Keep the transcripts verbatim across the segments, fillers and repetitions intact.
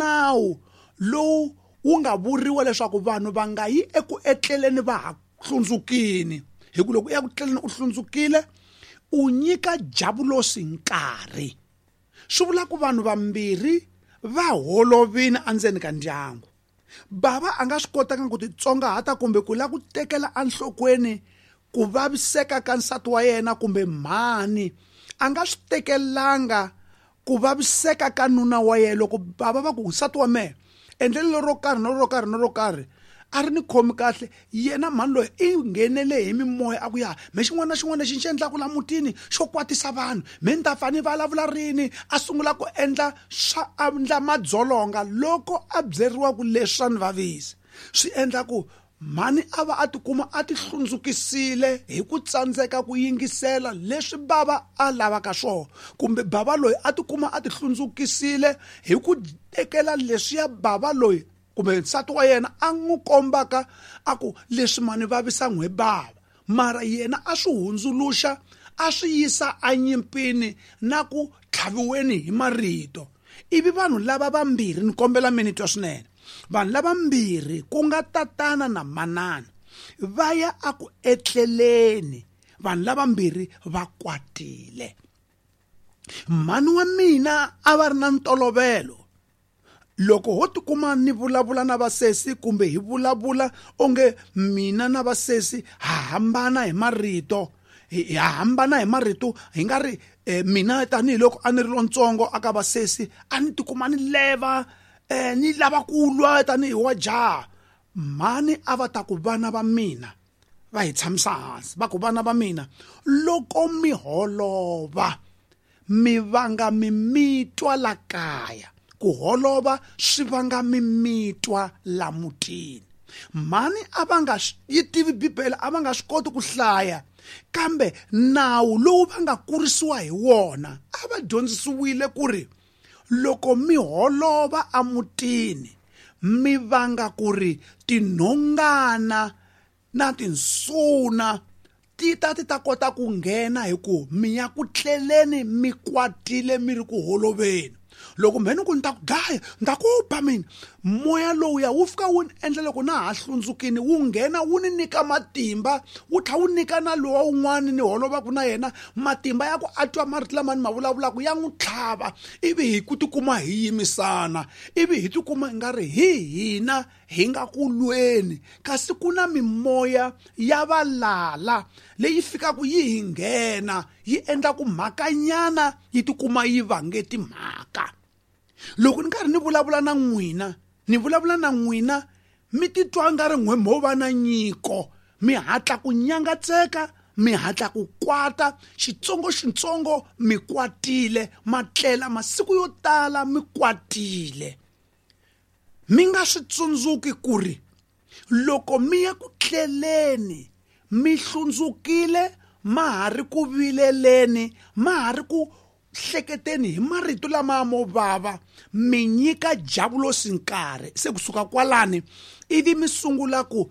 nawu lowu wu nga vuriwa leswaku vanhu va nga yi eku etleleni va ha hlundzukini hi ku loko u ya ku tleleni u hlundzukile u nyika javulosi nkarhi. Swi vula ku vanhu vambirhi va holovini endzeni ka ndyangu. Bava a nga swi kotanga ku titsongahata kumbe ku lava ku tekela enhlokweni ku vaviseka ka nsati wa yena kumbe mhani a nga swi tekelanga ku vaviseka ka nuna wa yena. Loko bava va ku nsati wa mehe endlelo ro karhi no ro karhi no ro karhi a ri ni khomi kahle, yena mhani loyi i nghenele hi mimoya a ku ya me xin'wana na xin'wana lexi ni xi endlaka la mutini xo kwatisa vanhu me ni ta fa ni vulavula rini. A sungula ku endla swa endla madzolonga loko a byeriwa ku leswi swa ni vavisa. Swi endla ku mhani a va a tikuma a ti hlundzukisile hi ku tsandzeka ku yingisela leswi bava a lavaka swona, kumbe bava loyi a tikuma a ti hlundzukisile hi ku tekela leswiya bava loyi kumbe nsati wa yena a n'wi kombaka a ku leswi mani vavisa n'we bava, mara yena a swi hundzuluxa a swi yisa enyimpini na ku tlhaviweni hi marito. Ivi vanhu lava vambirhi, ni kombela mi ni twa swinene, vanhu lavambirhi ku nga tatana na manana va ya a ku etleleni, vanhu lavambirhi va kwatile. Mhani wa mina a va ri na ntolovelo loko ho tikuma ni vulavula na vasesi kumbe hi vulavula onge mina na vasesi ha hambana hi marito, hi hambana hi marito hi nga ri eh, mina tanihiloko a ni ri lontsongo aka vasesi a ni tikuma ni leva eh, ni lava ku lwa tanihi wa jaha. Mhani a va ta ku vana va mina va hi tshamisa hansi va ku vana va mina loko mi holova mi vanga mimitwa la kaya, ku holova swi vanga mimitwa la mutini. Mhani a va nga yi tivi Bibele, a va nga swi koti ku hlaya, kambe nawu lowu va nga kurisiwa hi wona a va dyondzisiwile ku ri loko mi holova emutini mi vanga ku ri tinhongana na tinsuna ti ta ti ta kota ku nghena hi ku mi ya ku tleleni mi kwatile mi ri ku holoveni. Loko mheni ku ni ta ku dlaya ni ta ku ba mina, moya lowuya wu fika wu ni endla loko na ha hlundzukini wu nghena wu ni nyika matimba, wu tlhela wu nyika na lowa wun'wani ni holovaka na yena matimba ya ku a twa marito lama ni ma vulavulaka ya n'wi tlhava, ivi hi ku tikuma hi yimisana, ivi hi tikuma hi nga ri hi hina hi nga ku lweni, kasi ku na mimoya ya valala leyi fikaka yi hi nghena yi endla ku mhakanyana yi tikuma yi vange timhaka. Loko ni karhi ni vulavula na n'wina, ni vulavula na n'wina mi titwa nga ri n'we mo va na nyiko, mi hatla ku nyangatseka, mi hatla ku kwata xitsongo xitsongo mi kwatile, matlela masiku yo tala mi kwatile. Mi nga swi tsundzuki ku ri loko mi ya ku tleleni mi hlundzukile, ma ha ri ku vileleni, ma ha ri ku hleketeni hi marito lama mo vava, mi nyika javulosi nkarhi. Se kusuka kwalani ivi mi sungula ku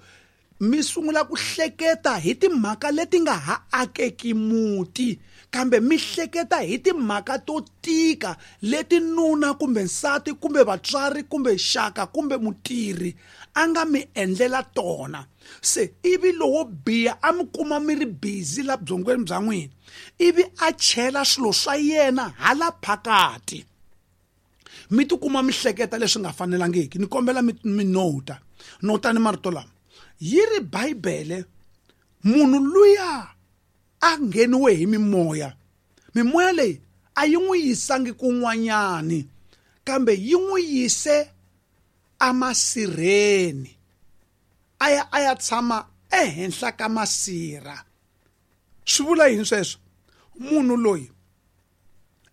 mi sungula ku hleketa hi timhaka leti nga ha akeki muti, kambe mi hleketa hi timhaka to tika leti nuna kumbe nsati kumbe vatswari kumbe xaka kumbe mutirhi a nga mi endlela tona. Se ivi lowo biha a mi kuma mi ri busy la byongweni bya n'wina, ivi a chela swilo swa yena hala phakati, mi tikuma mi hleketa leswi nga fanelangiki. Ni kombela mi mi nota nota ni marito lama yi ri Bibele, munhu luya a ngheniwe hi mimoya, mimoya leyi a yi n'wi yisangi kun'wanyani kambe yi n'wi yise amasirheni, a ya a ya tshama ehenhla ka masirha. Swi vula yini sweswo? Munhu loyi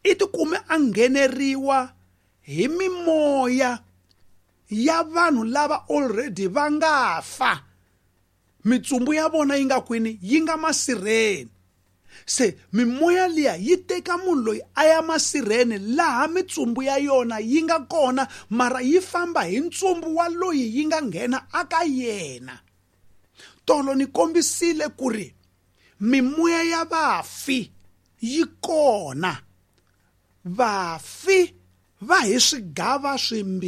i tikume a ngheneriwa hi mimoya ya vanhu lava already va nga fa, mitsumbu ya vona yi nga kwini, yi nga masirheni. Se mimoya liya yi teka munhu loyi a ya masirheni laha mitsumbu ya yona yi nga kona, mara yi famba hi ntsumbu wa loyi yi nga nghena aka yena. Tolo ni kombisile ku ri mimoya ya vafi yi kona, vafi va hi swigava swimbirhi.